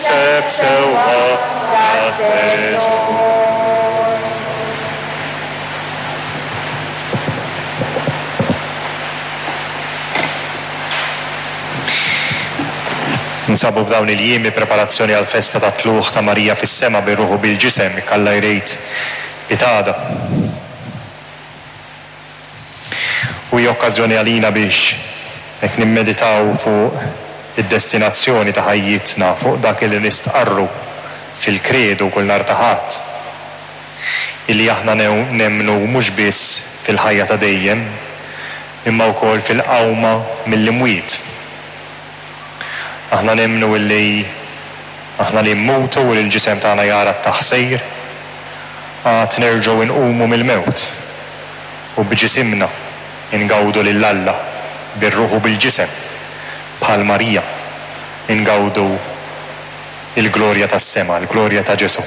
Seb sewwa dat-teżor. Ninsabu f'dawn il-jiem bi preparazzjoni għall-festa tat-Tlugħ ta' Marija fis-Sema bir-ruħ u bil-ġisem, jekk Alla jrid, pitgħada. U hija okkażjoni għalina biex hekk nimmeditaw fuq id-destinazzjoni ta' ħajjitna, fuq dak li nistqarru fil-Kredu kull nhar ta' Ħadd, illi aħna nemmnu mhux biss fil-ħajja ta' dejjem, imma wkoll fil-qawma mill-imwiet. Aħna nemmnu illi aħna li mmutu u li l-ġisem tagħna jara t-taħsir, għad nerġgħu nqumu mill-mewt u b'ġisimna ingawdu lil Alla bir-ruħ u bil-ġisem, bħal Marija, ingawdu l-glorja tas-sema, l-glorja ta' Ġesù.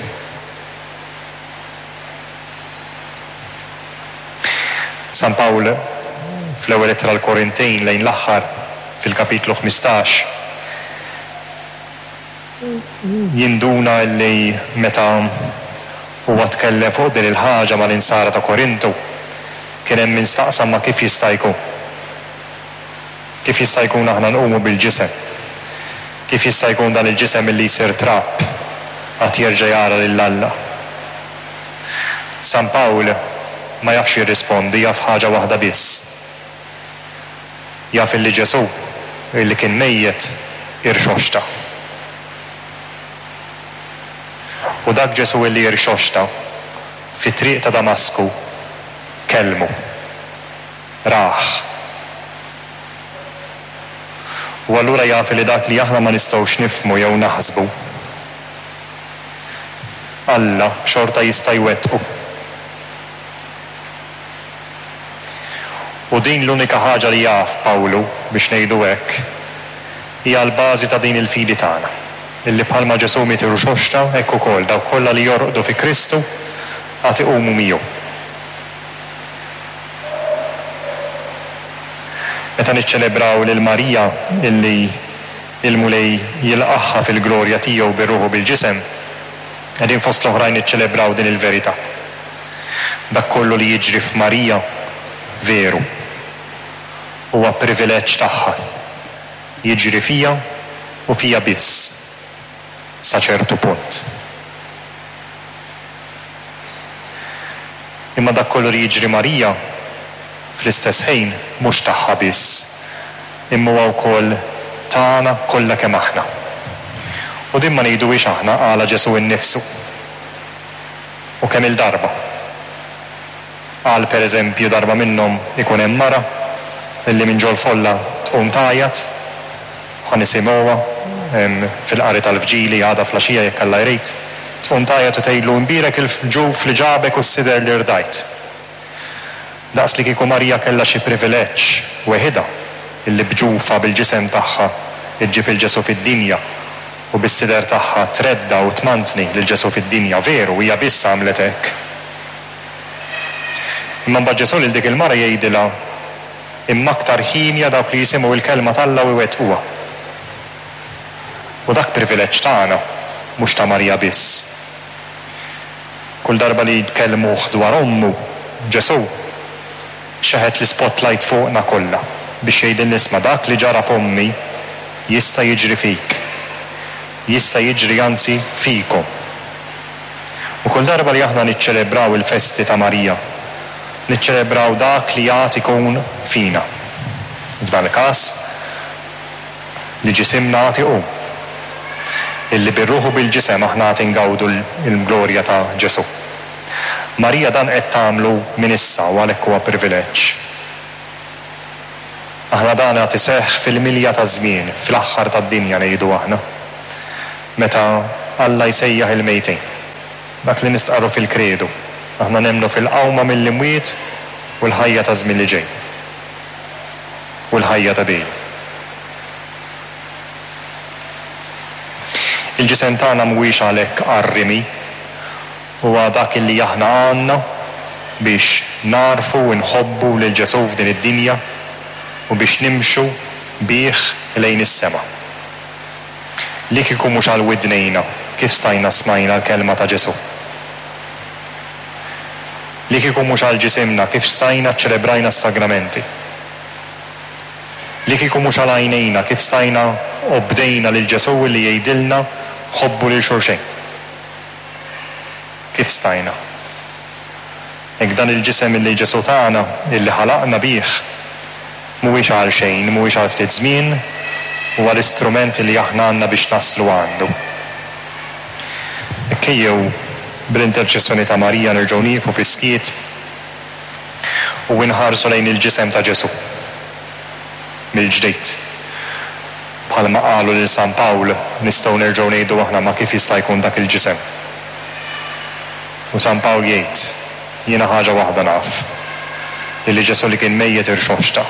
San Pawl fl-ewwel ittra għall-Korintin lejn l-aħħar fil-kapitlu 15 jinduna li meta huwa tkellem fuq din il-ħaġa mal-insara ta' Korintu, kien hemm min staqsa imma kif jista' jkun? Kif jista' jkun aħna nqumu bil-ġisem? Kif jista' jkun dan il-ġisem illi jsir trab għad jerġa' jara lil Alla? San Pawl ma jafx jirrispondi, jaf ħaġa waħda biss. Jaf illi Ġesù, illi kien mejjet, irxoxta. U dak Ġesù illi irxoxta, fit-triq ta' Damasku, kellmu. Rah. U allura jaf illi dak li aħna ma nistgħux nifhmu jew naħsbu, Alla xorta jista' jwettqu. U din l-unika ħaġa li jaf Pawlu, biex ngħidu hekk, hija l-bażi ta' din il-fidi tagħna, illi bħalma Ġesù miet irxoxta, hekk ukoll dawk kollha li jorqdu fi Kristu għad iqumu miegħu. Meta niċċelebraw lil Marija illi l-Mulej jilqagħha fil-glorja tiegħu bir-ruħ u bil-ġisem, qegħdin fost l-oħrajn niċċelebraw din il-verità. Dak kollu li jiġri f'Marija veru. Huwa privileġġ tagħha. Jiġri fija u fija biss. Sa ċertu punt. Imma dak kollu li jiġri Marija, fl-istess ħin mhux tagħha biss, imma huwa wkoll tagħna kollha kemm aħna. U din ma ngħiduhiex aħna, qalha Ġesù innifsu. U kemm-il darba. Qal per eżempju darba minnhom ikun hemm mara illi minn ġol-folla tqum tgħajjat, ħa nisimgħuha fil-qari tal-Vġili għada flaxija jekk Alla jrid, tqum tgħajjat u tgħidlu imbierek il-ġuf li ġabek u s-sider li rdajt. Daqs li kieku Marija kellha xi privileġġ weħidha illi b'ġufha bil-ġisem tagħha ġġib 'il Ġesù fid-dinja u bis-sider tagħha tredda' u tmantni lil Ġesù fid-dinja. Veru, hija biss għamlet hekk. Imma mbagħad Ġesù lil dik il-mara jgħidilha, Imma aktar hienja dawk li jisimgħu l-kelma t'Alla u jwettquha. U dak privileġġ tagħna, mhux ta' Marija biss. Kull darba li kellmuh dwar ommu, Ġesù xeħet l-ispotlight fuqna kollha biex jgħidilna isma' dak li ġara f'ommi jista' jiġri fik. Jista' jiġri anzi fikom. U kull darba li aħna niċċelebraw il-festi ta' Marija, niċċelebraw dak li għad ikun fina. F'dan il-każ, li ġisimna għad iqum. Illi bir-ruħ u bil-ġisem aħna għad ingawdu l-glorja ta' Ġesù. Marija dan qed tagħmlu minn issa u għalhekk huwa privileġġ. Aħna dan għad iseħħ fil-milja taż-żmien, fl-aħħar tad-dinja ngħidu aħna, meta Alla jsejjaħ il-mejtin. Dak li nistqarru fil-Kredu. Aħna nemmnu fil-qawma mill-imwiet u l-ħajja taż-żmien li ġej. U l-ħajja ta' dejjem. Il-ġisem tagħna mhuwiex għalhekk għar-rimi. Huwa dak li aħna għandna biex nagħrfu u nħobbu lil Ġesù f'din id-dinja u biex nimxu bih lejn is-sema. Li kieku mhux għal widnejna, kif stajna smajna l-kelma ta' Ġesù? Li kieku mhux għal ġisimna, kif stajna ċċelebrajna s-sagramenti? Li kieku mhux għal għajnejna, kif stajna obdejna lil Ġesù li jgħidilna ħobbu lil xulxejn? Kif stajna? Hekk dan il-ġisem illi Ġesù tana, illi ħalaqna bih, mhuwiex għal xejn, mhuwiex għal ftit żmien, huwa l-istrument illi aħna għandna biex naslu għandu. Hekk ejjew bl-interċessjoni ta' Marija nerġgħu nieqfu fis-skiet u inħarsu lejn il-ġisem ta' Ġesù mill-ġdid. Bħalma qalu lil San Pawl, nistgħu nerġgħu ngħidu aħna ma kif jista' jkun dak il-ġisem? U San Pawl jgħid, Jiena ħaġa waħda naf, illi Ġesù li kien mejjet irxoxta,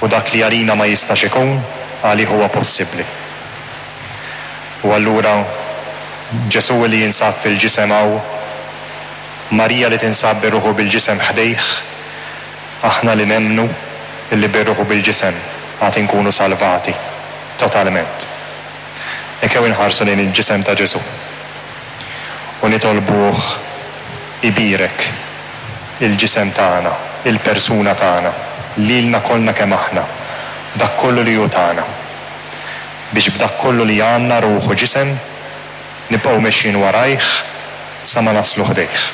u dak li għalina ma jistax ikun, għalih huwa possibbli. U allura Ġesù li jinsab fil-ġisem hawn, Marija li tinsab bir-ruħ u bil-ġisem ħdejh, aħna li nemmnu illi bir-ruħ u bil-ġisem għad inkunu salvati totalment. Ejjew inħarsu lejn il-ġisem ta' Ġesù u nitolbuh ibierek il-ġisem tagħna, il-persuna tagħna, lilna kollna kemm aħna, dak kollu li hu tagħna, biex b'dak kollu li għandna ruħ u ġisem nibqgħu mexjin warajh sa ma naslu ħdejh.